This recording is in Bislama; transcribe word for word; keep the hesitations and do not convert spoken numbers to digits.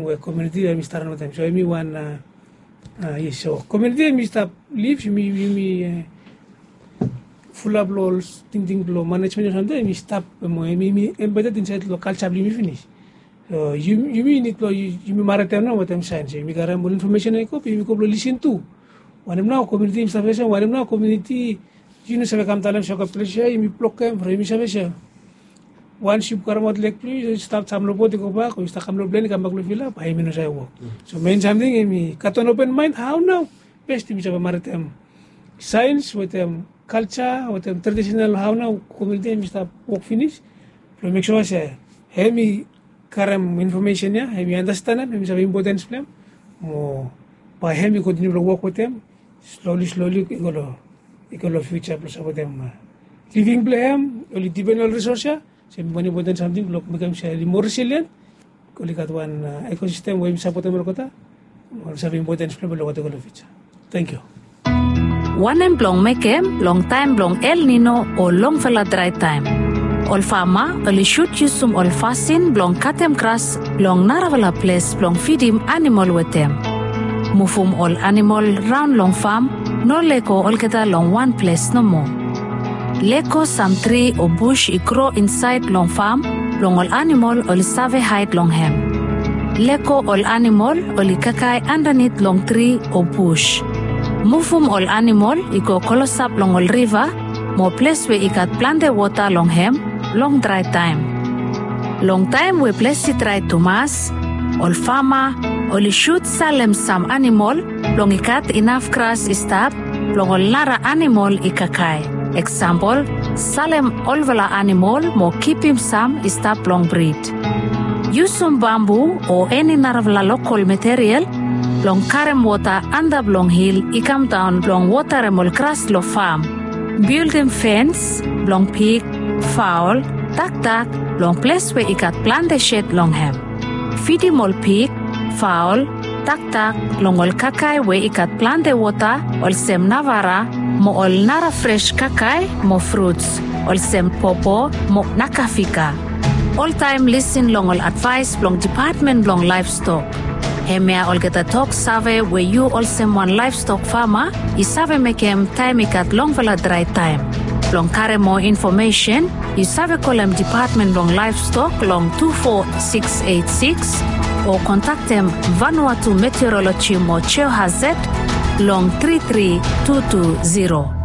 we komuniti em i stap raon wetem. So em i wan, yes, so komuniti em i stap lif, yumi yumi fulap long ol tingting blong manejmen o samting em i stap, mo em i embedet insaed long kalja blong yumi finis. So yumi nid blong yumi maretem nao wetem saens, yumi karem ol infomesen ya i go, yumi go blong lisin tu. Wanem nao komuniti yumi save olsem, wanem nao komuniti yu no save kam talem se oke ples ya yumi blokem from yumi save olsem, wans yu karemaot lek blong yu, yu stap sam long bot i gobak o yu stap kam long plen i kambak long fila, bae yumi no save wok. So mein samting em i gat wan open maen, hao nao bes yumi save maretem saens wetem kalja wetem tradisenal, hao nao komuniti em i stap wok finis blong mek sua se em i karem infomesen ya, em i andastanem, em i save impotens blong em, mo bae em i kontiniu blong wok wetem sloli sloli i go long fiuja blong sapotem living blong em, oli dipen ol risos ya. Se em i wan impoten samting blong mekem se oli moa resilien, oli gat wan ekosistem we yumi sapotem olgeta, oli save impotens blong em long whatever long fiuja. Tangkiu. Wanem blong mekem long taem blong El Nino o longfala drae taem? Ol fama oli sud yusum ol fasin blong katem gras long narafala ples blong fidim animol wetem. Muvum ol animol raon long fam no lego olgeta long wan ples nomo. Lego sam tri o bus i gro insaed long fam blong ol animol oli save haed long hem. Lego ol animol oli kakae andanit long tri o bus. Muvum ol animol i go klosap long ol riva mo ples we i gat plante wota long hem long drae taem. Long taem we ples i drae tumas, ol fama oli sud salem sam animol blong i gat inaf gras i stap blong ol nara animol i kakae. Eksampol, salem olfala animol mo kipim sam i stap blong brid. Yusum bambu o eni narafala lokol material blong karem wota antap long hil i kamdaon blong wotarem ol gras long fam. Bildim fens blong pig, faol, dakdak long ples we i gat plante sed long hem. Fidim ol pig, faol, dakdak long ol kakae we i gat plante wota olsem navara mo ol nara fres kakae mo fruts olsem popo mo nakafika. Oltaem lisin long ol advaes blong Dipatmen blong Laevstok. Hemia olgeta tok save we yu olsem wan laevstok fama i save mekem taem i gat longfala drae taem. Blong karem moa infomesen, yu save kolem Dipatmen blong Laevstok long tu fo siks eit siks o kontaktem Vanuatu Meteoroloji mo Geohazard long tri tri tu tu ziro.